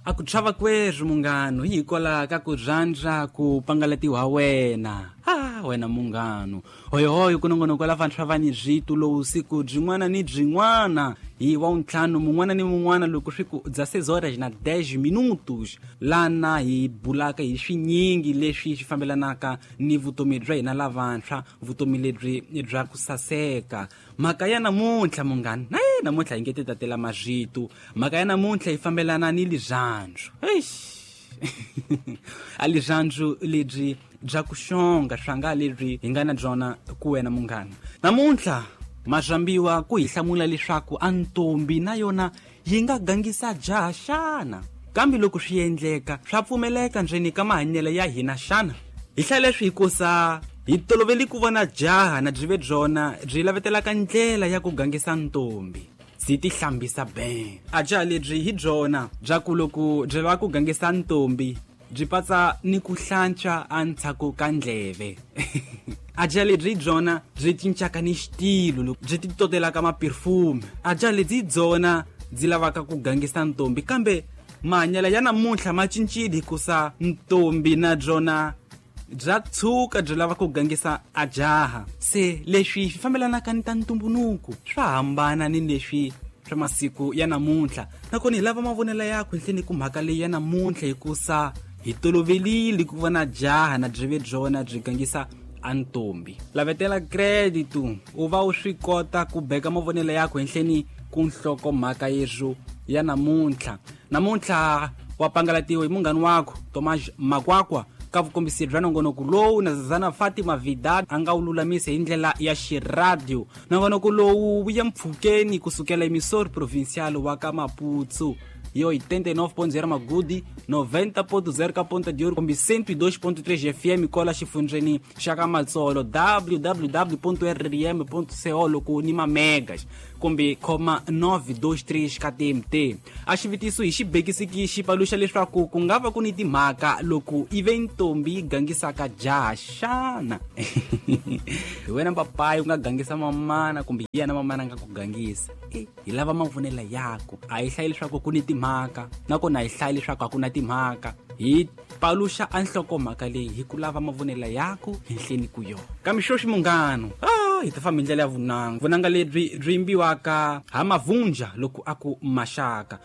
A ku chava kwerhu munghano hi hikwalaho ka ku rhandza ku pangalatiwa wena. Ah, wena munghano. Hoyohoyo ku nongonoko la vantshwa va ni rito lowu siku byin'wana ni byin'wana hi wa ntlhanu mun'wana ni mun'wana loko swi ku 16 horas na 10 minutos lana hi bulaka hi swinyingi leswi swi fambelanaka ni vutomi bya hina lavantshwa, vutomi lebyi bya ku saseka. Mhaka ya namuntlha munghana, na namuntlha hi nge ti tatela marito. Mhaka ya namuntlha yi fambelana ni lirhandzu. Eish. A lirhandzu lebyi bya ku xonga swanga lebyi hi nga na byona ku wena munghana. Namuntlha mazambiwa ku hi hlamula leswaku a ntombi na yona yi nga gangisa jaha xana? Kambe loko swi endleka swa pfumeleka ndzeni ka mahanyelo ya hina xana? Hi hlaya leswi hikusa hi toloveli ku vona jaha na byi ve byona byi lavetelaka ndlela ya ku gangisa ntombi. Byi ti hlambisa ben. A jaha lebyi hi byona bya ku loko byi lava ku gangisa ntombi byi patsa ni ku hlantswa endzhaku ka ndleve. A jaha lebyi hi byona byi cincaka ni xitilo loko byi ti totelaka maperfume. A jaha lebyi hi byona byi lavaka ku gangisa ntombi, kambe mahanyelo ya namuntlha ma cincile hikusa ntombi na byona bya tshuka byi lava ku gangisa a jaha. Se leswi swi fambelanaka ni ta ntumbuluko swa hambana ni leswi swa masiku ya namuntlha. Nakona hi lava mavonelo yakho henhleni ku mhaka leyi ya namuntlha, hikusa hi tolovelile ku vona jaha na byi ve byona byi gangisa a ntombi. Lavetela credit u va u swi kota ku beka mavonelo yakho henhleni ku nhloko mhaka yeswo ya namuntlha. Namuntlha wa pangalatiwa hi munghani wakho Tomas Makwakwa ka vukombisi bya nongonoko lowu na Zazana Fatima Vidal a nga wu lulamisa hi ndlela ya xiradio. Nongonoko lowu wu ya mpfhukeni kusukela emisori provincial wa ka Maputo yo 89.0 Magudi, 90.0 ka Ponta de Ouro, kumbe 102.3 FM kola xifundzeni xa ka Matsolo, www.rrm.co loko ni mamegas kumbe khoma 923 ka TMT. A xivutiso hi xibekisiki xi paluxa leswaku ku nga va ku ni timhaka loko ive ntombi yi gangisaka jaha xana? Hi wena papayi u nga gangisa mamana kumbe hi yena mamana a nga ku gangisa. Hi lava mavonelo yako. A hi hlayi leswaku ku ni timhaka, nakona a hi hlayi leswaku a ku na timhaka. Hi paluxa a nhlokomhaka leyi hi ku lava mavonelo yako henhleni ku yona. Kambe sweswi munghano, hi ta famba hi ndlela ya vunanga. Vunanga lebyi byi yimbiwaka ha mavunja loko a ku maxaka.